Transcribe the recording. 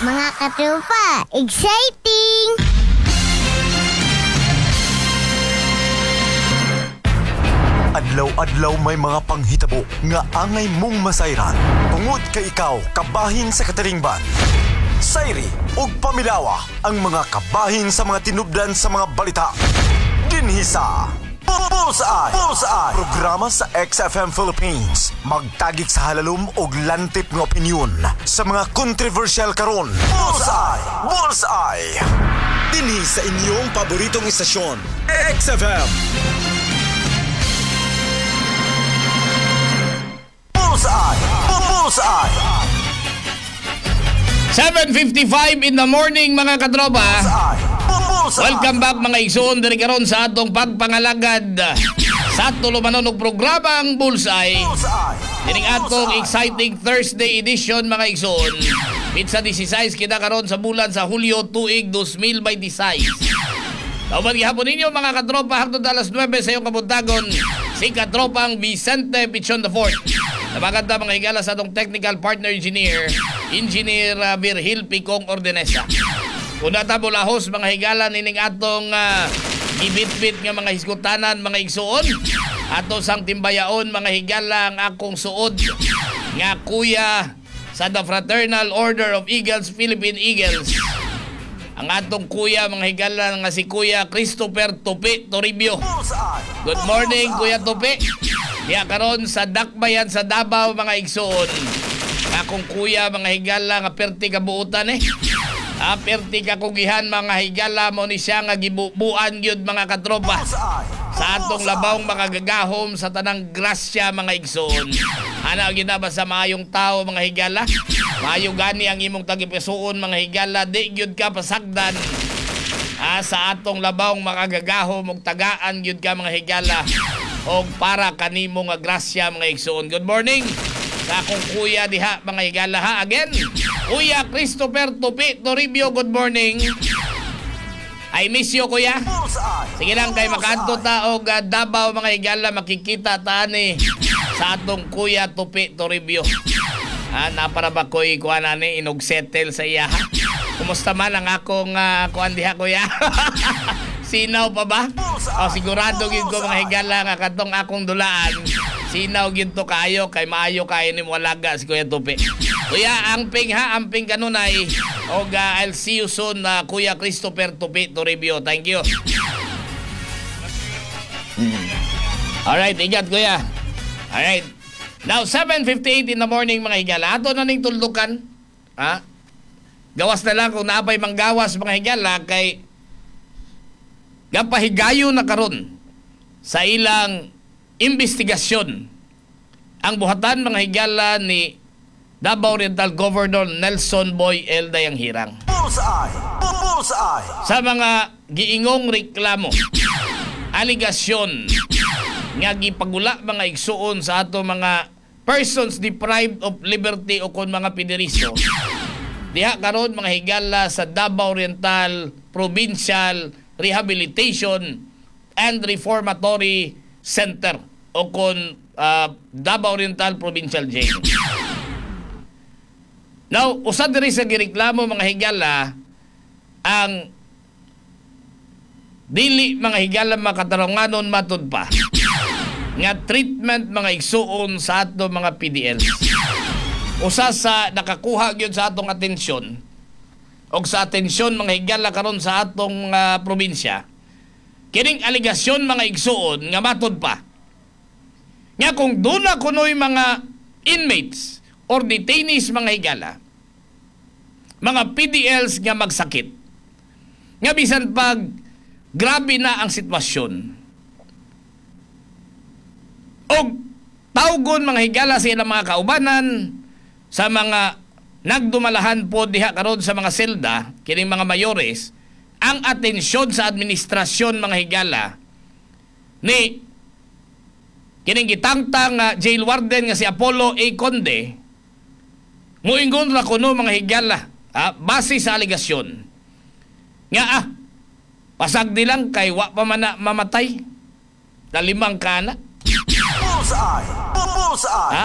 Mga katropa, exciting! Adlaw-adlaw may mga panghitabo nga angay mong masayran. Tungod kay ikaw kabahin sa katilingban. Sayri ug pamilawa ang mga kabahin sa mga tinubdan sa mga balita. Dinhi sa Bullseye! Bullseye! Programa sa XFM Philippines. Magtagik sa halalom og lantip nga opinyon sa mga kontrobersyal karon. Bullseye! Bullseye! Dinhi sa inyong paboritong istasyon, XFM. Bullseye! Bullseye! 7:55 in the morning, mga katropa. Bullseye! Bullseye! Welcome back, mga igsoon, diri karon sa atong pagpangalagad sa tulumanon og programang Bullseye. Bullseye! Dining atong exciting Thursday edition, mga igsoon. Pitsa 16 kita karon sa bulan sa Hulyo, tuig 2026. Tauban gihapon ninyo, mga katropa, hangtod alas 9 sa iyong kabuntagon, si katropang Vicente Pichon the Fourth. Tabagan ta, mga higala, sa atong technical partner engineer, Engineer Virgil Picong Ordenesa. Una ta bulahos, mga higala, nining atong gibitbit nga mga hiskutanan, mga igsuon. Ato sang timbayaon, mga higala, ang akong suod nga kuya sa The Fraternal Order of Eagles, Philippine Eagles. Ang atong kuya, mga higala, nga si Kuya Christopher Tupi Toribio. Bullseye! Good morning, Kuya Tupi. Diya karon sa Dakbayan sa Davao, mga igsoon. Akong kuya, mga higala, nga perti kabuutan eh. Ah, perti kakugihan, mga higala, mo ni siya nga gibubuan gyud, mga katropa. Bullseye! Sa atong labawng makagagahom sa tanang grasya, mga igsoon. Ana gyud na ba sa maayong tao, mga higala? Maayo gani ang imong tagipisuon, mga higala, di gyud ka pasagdan. Ah, sa atong labawng makagagahom og tagaan gyud ka, mga higala, og para kanimo nga grasya, mga igsoon. Good morning sa akong kuya diha, mga higala, ha. Again, Kuya Christopher Tupi Toribio, good morning. I miss you, kuya. Bullseye! Sige lang kay makaadto ta og Davao, mga higala, makikita ta ani sa atong Kuya Tupi Toribio. Ah, napara ba ko'y kuan ani inog settle sa iya, ha? Kumusta man ang akong kuan diha, kuya? Sinaw pa ba? O sigurado gyud ko, mga higala, nga katong akong dulaan. Sinaw gyud to kayo kay maayo kayo ni walaga si Kuya Tupi. Kuya, amping ha, amping kanunay. Og I'll see you soon, Kuya Christopher Tupi Toribio. Thank you. Alright, ingat, kuya. Alright. Now, 7:58 in the morning, mga higala. Ato na ning tuldukan. Ha? Gawas na lang kung naapay manggawas, mga higala, kay gapahigayo na karon sa ilang investigasyon ang buhatan, mga higala, ni Davao Oriental Governor Nelson Boy L. Dayanghirang Bullseye! Bullseye! sa mga giingong reklamo, aligasyon nga gipagula, mga igsuon, sa ato mga persons deprived of liberty o kon mga pideriso diha karon, mga higala, sa Davao Oriental Provincial Rehabilitation and Reformatory Center o kon Davao Oriental Provincial Jail. Now, usa diri sa gireklamo, mga higala, ang dili, mga higala, makatarunganon matud pa nga treatment, mga igsuon, sa ato mga PDLs. Usa sa nakakuha gyud sa atong atensyon og sa atensyon, mga higala, karon sa atong probinsya kining aligasyon, mga igsuon, nga matud pa nga kung duna kunoy mga inmates or detainees, mga higala, mga PDLs nga magsakit, nga bisan pag grabe na ang sitwasyon og tawgon, mga higala, sa ilang mga kaubanan, sa mga nagdumalahan po diha karon sa mga selda, kining mga mayores, ang atensyon sa administrasyon, mga higala, ni kining gitangtang jail warden nga si Apollo A. Conde, muingon ra kuno, mga higala, base sa aligasyon nga pasagdi lang kay wa pa man na mamatay na limang kana. Bullseye! Bullseye! Ha?